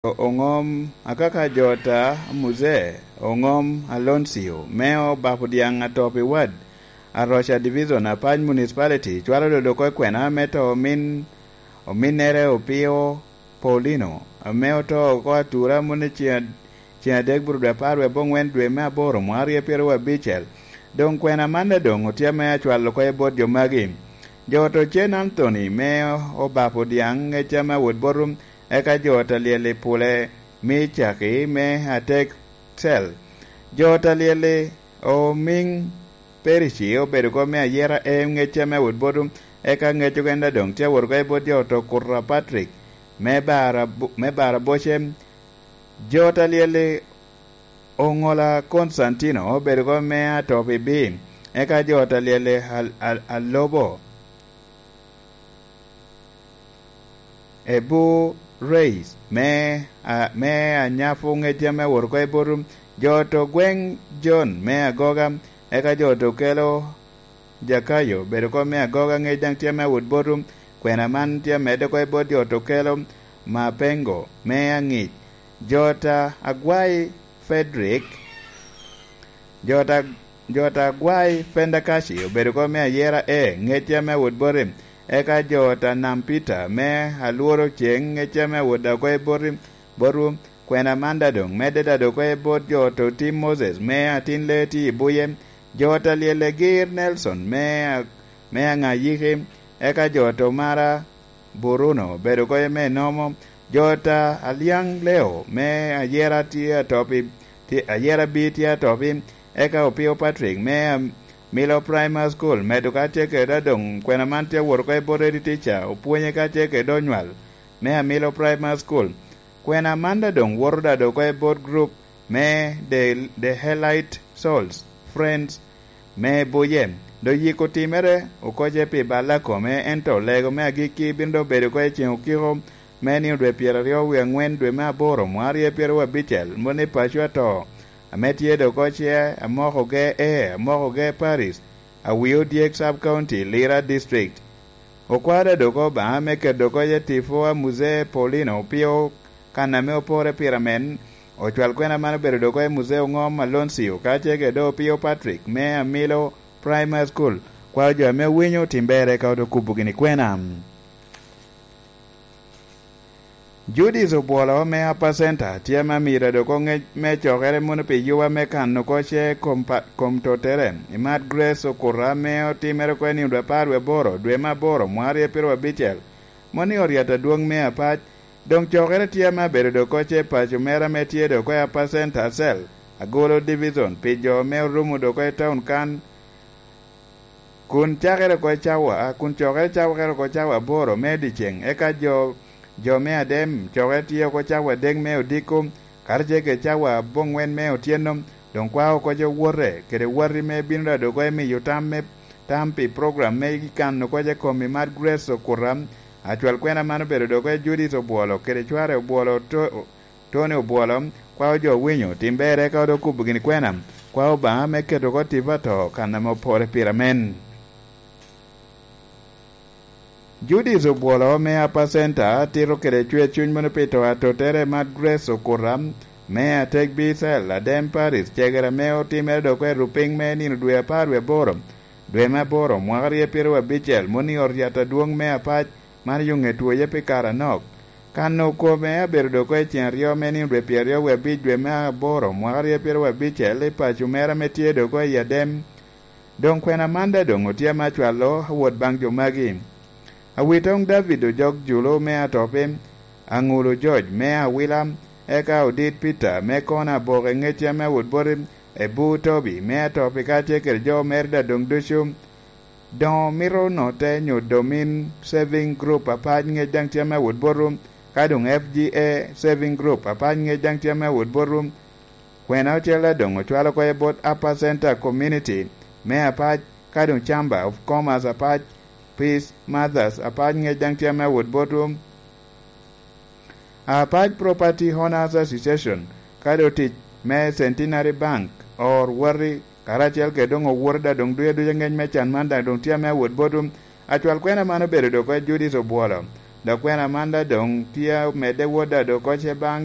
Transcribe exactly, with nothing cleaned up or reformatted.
Oŋom akaka jo ta Muzee Oŋom Aloncio me Obap Odyaŋ Atop i wad Aroca Division, Apac Municipality, cwalo dodo oko i kwena me to omin, ominnere Opio Paulino, ame oto oko atura moni ceŋ ad-, ceŋ adek bur dwe apar wie aboŋwen dwe me aboro mwaka aryo pyeraryo abicel. Doŋ kwena man daŋ doŋ otye ame acwalo oko i bot jo magi. Jo ot Ocen Anthony me Obap Odyaŋ, ŋec ame awot bot rum, eka jo ot Alyel i Pule me Caki me Atek Cel. Jo ot Alyel i Omiŋ Perici obedo oko me Ayera A, ŋec ame awot bot rum, eka ŋec ogen daŋ doŋ tye awot oko i bot jo ot Okuta Patrick me Bara, me Bara Boce. Jo ot Alyel i Oŋola Konstantino obedo oko me Atop i Bi, eka jo ot Alyel i Al-, Al-, Alobo Ebu Reis me, a, me Anyapu, ŋec ame awot oko i bot rum. Jo ot Ogweŋ John me Agoga, eka jo ot Okelo Jakayo obedo oko me Agoga, ŋec daŋ tye ame awot bot rum. Kwena man tye amedde oko i bot jo ot Okelo Mapengo me Aŋic. Jo ot Agwai Frederick, jo ot Ag-, jo ot Agwai Fendakaci obedo oko me Ayera A, ŋec ame awot boti, eka jo ot Anam Peter me Alworo Ceŋ, ŋec ame awot daŋ oko i boti, botwu. Kwena man daŋ doŋ medde daŋ doŋ oko i bot jo ot Otim Moses me Atin Lee tye i Buye, jo ot Alyel Egir Nelson me A-, me Aŋayiki, eka jo ot Omara Buruno obedo oko me Nomo, jo ot Alyaŋ Leo me Ayera tye Atop i, tye, Ayera B tye Atop i, eka Opio Patrick me Amilo Primary School, medo ka tye kede daŋ doŋ kwena man tye awot oko i bot Eddie Teacher, opwonye ka tye kede onywal me Amilo Primary School. Kwena man daŋ doŋ woto daŋ doŋ oko i bot group me The, The Helite Souls Friends me Buye. Doŋ yiko timere okoce pi bal a kome, ento lego me agikki bino doŋ bedo oko i ceŋ okiko me nino dwe pyeraryo wie aŋwen dwe me aboro mwaka aryo pyeraryo abicel, moni paco ato, ame tye doŋ oko ce Amokoge A, Amokoge Parish, Awio Dyek Sub County, Lira District. Okwao daŋ doŋ oko Obaŋa me keto oko i tipo a Muzee Paulino Opio kan ame opore pire amen. Ocwal kwena man obedo doŋ oko i Muzee Oŋom Aloncio, ka tye kede Opio Patrick me Amilo Primary School. Kwao jo ame owinyo otim berre ka odo kubo gini kwena. Judith Obwolo me Upper Center tye ame amiro dok oŋec me cokere mono pi yuba me kano oko ce kom pa-, kom tottere i Mad Grace Okuta ame otimere oko i nino dwe apar wie aboro, dwe me aboro, mwaka aryo pyeraryo abicel, mono i ot yat adwoŋ me Apac. Doŋ cokere tye ame abedo dok oko ce paco mere ame tye dok oko i Upper Center Cell, Agulu Division, pi jo ame orumo dok oko i taun kan, kun cakere oko i cawa, kun cokere cakere oko cawa aboro me dyeceŋ, eka jo, jo me Adem cokere tye oko cawa adek me odiko, karacel kede cawa aboŋwen me otyeno, doŋ kwao oko jo wote kede wati me bino daŋ dok oko i miyo tam me, tam pi program me kano oko i kom i Mad Grace Okuta. Acwal kwena man obedo dok oko i Judith Obwolo kede cware Obwolo to, Tony Obwolo, kwao jo owinyo tim berre ka odo kubo gini kwena, kwao Obaŋa me keto oko tipo ato kan ame opore pire amen. Judith Obwolo me Upper Center tito kede cwer cuny mono pi to atottere Mad Grace Okuta me Atek Bicel, Adem Paris, cegere ame otimere dok i rupiŋ me nino dwe apar wie aboro, dwe me aboro, mwaka aryo pyeraryo abicel, mono i ot yat adwoŋ me Apac, man yo ŋe twoye pi kare anok. Kano kome abedo dok oko i ceŋ aryo me nino dwe pyeraryo wie abic dwe me aboro mwaka aryo pyeraryo abicel i paco mere ame tye dok oko i Adem. Doŋ kwena man daŋ doŋ otye ame acwalo awot baŋ jo magi. Awitoŋ David Ojok Julu me Atopi, Aŋulu George me Awila, eka Odit Peter me Kona Aboke ŋecce ame awot boti, Ebu Tobi me Atopi kacel kede jo mere daŋ doŋ ducu. Doŋ omito note nyo Domin Saving Group Apac ŋec daŋ tye ame awot botwu, ka doŋ F G A Saving Group Apac ŋec daŋ tye ame awot botwu. Kwena ocele doŋ ocwalo oko i bot Upper Center Community me Apac, ka doŋ Chamber of Commerce Apac, Peace Mothers Apac ŋec daŋ tye ame awot botwu. Apac Property Owners Association, kadi otic me Centenary Bank, or wati, karacel kede doŋ owoti daŋ doŋ duc aduca ŋec me can man daŋ doŋ tye ame awot botwu. Acwal kwena man obedo dok oko i Judith Obwolo, Dok kwena man daŋ doŋ tye omedde wot ado kocce baŋ